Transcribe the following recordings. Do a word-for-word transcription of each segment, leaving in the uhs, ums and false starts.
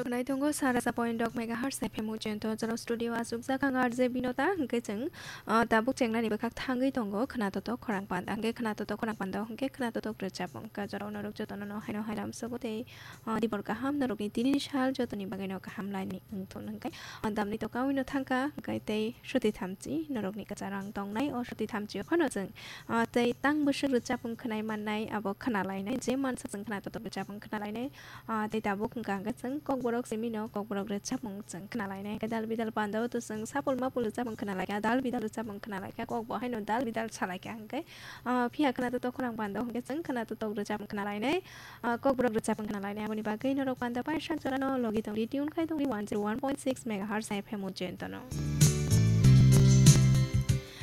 Khwnai tongo sara sa point dok megahertz F M o jento jora studio asukjak ang R J Binota, hwnkhe chwng, ah, tabuk chengnani bwkhak thangwi tongo khwnatotok khorang panda, hwnkhe khwnatotok khorang panda, hwnkhe khwnatotok rwchapmung. Ka jorao norok jotono no haino hairam sobo tei, ah, dibor kaham norokni tinini sal jotoni bagwino kaham laini wngthun hwnkhe, ah, damni tokawi no thangkha hwnkhe tei soti thamchi norokni kwcharo ang tongnai. O soti thamchi o phano chwng, ah, tei tang bwswk rwchapmung khwnai mannai abo khwnalainai, je mansa chwng khwnatotok rwchapmung khwnalainai. Ah, tei tabuk hwnkha hwnkhe chwng kokborok simi no kokborok rwchapmung chwng khwnalainai. Hwnkhe dal bidal panda o to chwng sapul mapul rwchapmung khwnalaikha, dal bidal rwchapmung khwnalaikha, kok bo haino dal bidal salaikha hwnkhe, ah, phiya khwnatotok khorang panda o hwnkhe chwng khwnatotok rwchapmung khwnalainai, ah, kokborok rwchapmung khwnalainai. Aboni bagwi norok panda paisa jora no logi tongdi, tune khai tongdi one zero one point six megahertz F M o jento no.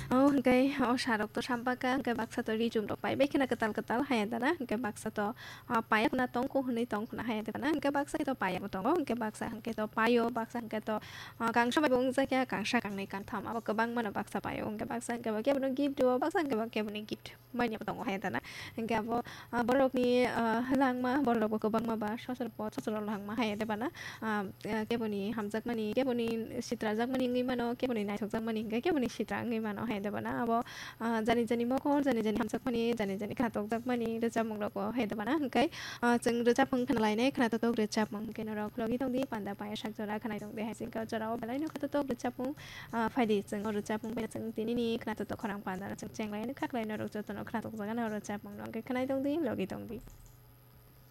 O hwnkhe o sarok to sampakha, hwnkhe baksa to rijum rok pai bai kheno kwtal kwtal haya dana, hwnkhe baksa to, ah, payakna tongkho hwnwi tongkhwna haya de bana, hwnkhe baksa to payabo tongo, hwnkhe baksa hwnkhe to paio, baksa hwnkhe to, ah, kangsa bai bo wngjakya, kangsa kangnwi kangtham abo kwbangma no baksa paio, hwnkhe baksa hwnkhe bo kebono gift rwo, baksa hwnkhe bo keboni gift manya bo tongo haya dana, hwnkhe abo, ah, borokni, ah, langma borok bo kwbangma ba sosor po sosor langma haya de bana, ah, ah, keboni hamjakmani, keboni sitrajakmani wngwi mano, keboni naithokjakmani hwnkhe keboni sitra wngwi mano haya de bana, abo ah, jani jani mokol, jani jani hamjakmani, jani jani khatokjakmani rwchapmung rogo hai de bana hwnkhe, ah, chwng rwchapmung khwnalainai, khwnatotok rwchapmung hwnkhe norok logi tongdi, panda paya sak jora khwnai tongdi hai chwngkhe o jorao belaino khatotok rwchapmung, ah, phaidi chwng o rwchapmung bai chwng tinini khwnatotok khorang panda chwng chenglaino khaklaino rok jotono khwnatokjagano o rwchapmung no hwnkhe khwnai tongdi, logi tongdi.